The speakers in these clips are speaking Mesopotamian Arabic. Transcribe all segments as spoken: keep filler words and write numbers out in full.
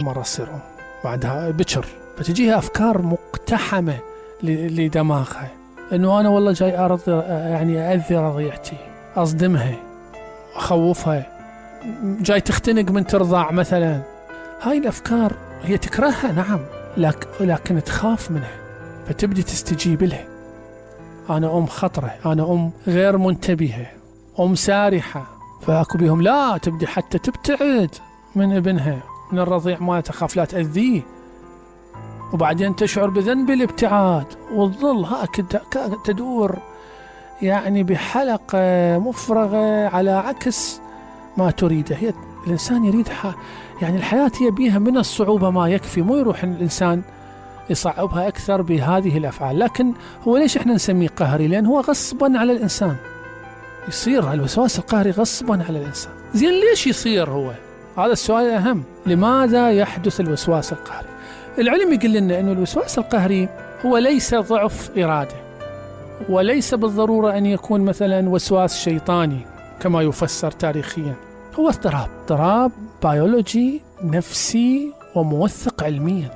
مرة تصير أم بعدها بكر، فتجيها أفكار مقتحمة لدماغها، إنه أنا والله جاي أرض يعني أأذي رضيعتي، أصدمها، أخوفها، جاي تختنق من ترضع مثلا. هاي الأفكار هي تكرهها نعم، لكن تخاف منها، فتبدي تستجيب لها. أنا أم خطرة، أنا أم غير منتبهة، أم سارحة، فأكو بيهم لا، تبدي حتى تبتعد من ابنها، من الرضيع ما تخاف لا تأذيه، وبعدين تشعر بذنب الابتعاد، وتظل هكذا تدور يعني بحلقة مفرغة على عكس ما تريده. هي الإنسان يريد يعني الحياة هي بيها من الصعوبة ما يكفي، مو يروح الإنسان يصعبها أكثر بهذه الأفعال. لكن هو ليش إحنا نسميه قهري؟ لأن هو غصبا على الإنسان يصير الوسواس القهري غصبا على الإنسان. زين ليش يصير هو؟ هذا السؤال الأهم. لماذا يحدث الوسواس القهري؟ العلم يقول لنا أن الوسواس القهري هو ليس ضعف إرادة، وليس بالضرورة أن يكون مثلا وسواس شيطاني كما يفسر تاريخيا. هو اضطراب اضطراب بيولوجي نفسي وموثق علميا.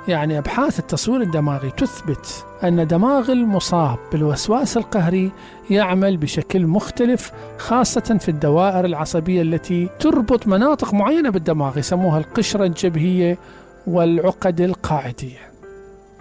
يعني أبحاث التصوير الدماغي تثبت أن دماغ المصاب بالوسواس القهري يعمل بشكل مختلف، خاصة في الدوائر العصبية التي تربط مناطق معينة بالدماغ، يسموها القشرة الجبهية والعقد القاعدية.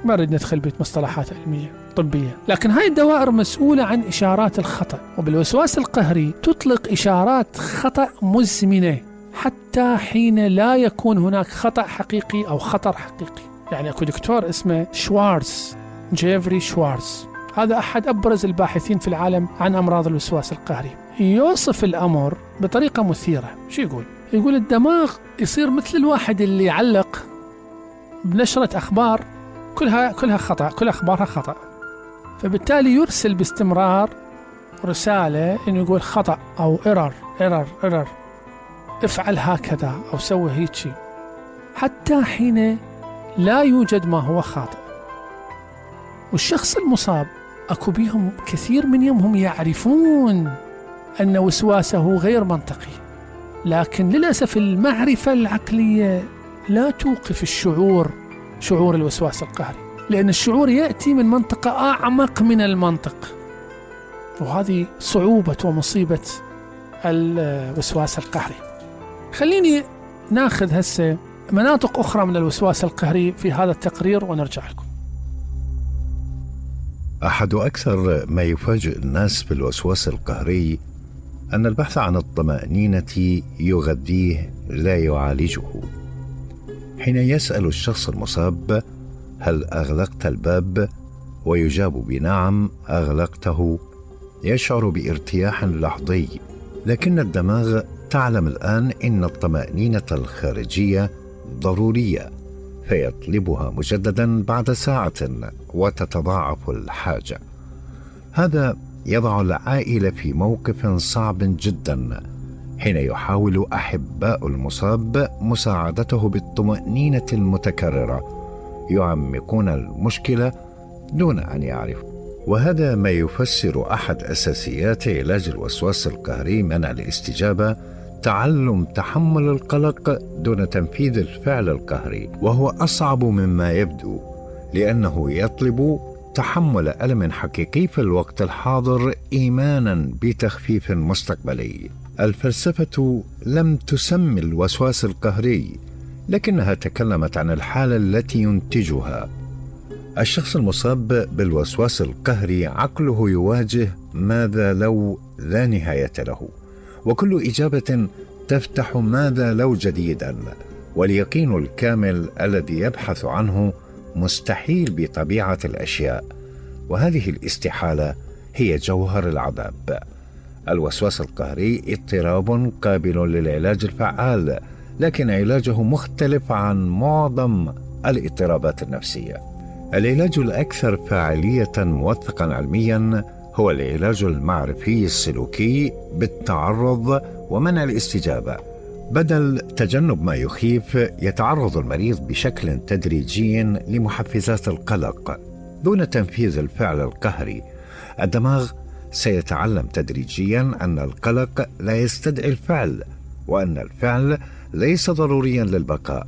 ما نريد ندخل بمصطلحات علمية طبية، لكن هاي الدوائر مسؤولة عن إشارات الخطأ. وبالوسواس القهري تطلق إشارات خطأ مزمنة حتى حين لا يكون هناك خطأ حقيقي أو خطر حقيقي. يعني أكو دكتور اسمه شوارتز، جيفري شوارتز، هذا أحد أبرز الباحثين في العالم عن أمراض الوسواس القهري، يوصف الأمر بطريقة مثيرة. شو يقول؟ يقول الدماغ يصير مثل الواحد اللي يعلق بنشرة أخبار كلها كلها خطأ، كل أخبارها خطأ، فبالتالي يرسل باستمرار رسالة إنه يقول خطأ أو إرر إرر إرر، افعل هكذا أو سوي هيك، حتى حين لا يوجد ما هو خاطئ. والشخص المصاب أكو بيهم كثير من يومهم يعرفون أن وسواسه غير منطقي، لكن للأسف المعرفة العقلية لا توقف الشعور، شعور الوسواس القهري، لأن الشعور يأتي من منطقة أعمق من المنطق. وهذه صعوبة ومصيبة الوسواس القهري. خليني ناخذ هسه مناطق أخرى من الوسواس القهري في هذا التقرير ونرجع لكم. أحد أكثر ما يفاجئ الناس بالوسواس القهري أن البحث عن الطمأنينة يغذيه لا يعالجه. حين يسأل الشخص المصاب هل أغلقت الباب؟ ويجاب بنعم أغلقته، يشعر بارتياح لحظي، لكن الدماغ تعلم الآن إن الطمأنينة الخارجية ضرورية، فيطلبها مجددا بعد ساعة وتتضاعف الحاجة. هذا يضع العائلة في موقف صعب جدا حين يحاول أحباء المصاب مساعدته بالطمأنينة المتكررة، يعمقون المشكلة دون أن يعرفوا. وهذا ما يفسر أحد أساسيات علاج الوسواس القهري منع الاستجابة، تعلم تحمل القلق دون تنفيذ الفعل القهري، وهو أصعب مما يبدو لأنه يطلب تحمل ألم حقيقي في الوقت الحاضر إيمانا بتخفيف مستقبلي. الفلسفة لم تسمي الوسواس القهري، لكنها تكلمت عن الحالة التي ينتجها. الشخص المصاب بالوسواس القهري عقله يواجه ماذا لو لا نهاية له، وكل إجابة تفتح ماذا لو جديدا، واليقين الكامل الذي يبحث عنه مستحيل بطبيعة الأشياء، وهذه الاستحالة هي جوهر العذاب. الوسواس القهري اضطراب قابل للعلاج الفعال، لكن علاجه مختلف عن معظم الاضطرابات النفسية. العلاج الأكثر فاعلية موثقا علميا هو العلاج المعرفي السلوكي بالتعرض ومنع الاستجابة. بدل تجنب ما يخيف، يتعرض المريض بشكل تدريجي لمحفزات القلق دون تنفيذ الفعل القهري. الدماغ سيتعلم تدريجيا أن القلق لا يستدعي الفعل، وأن الفعل ليس ضروريا للبقاء.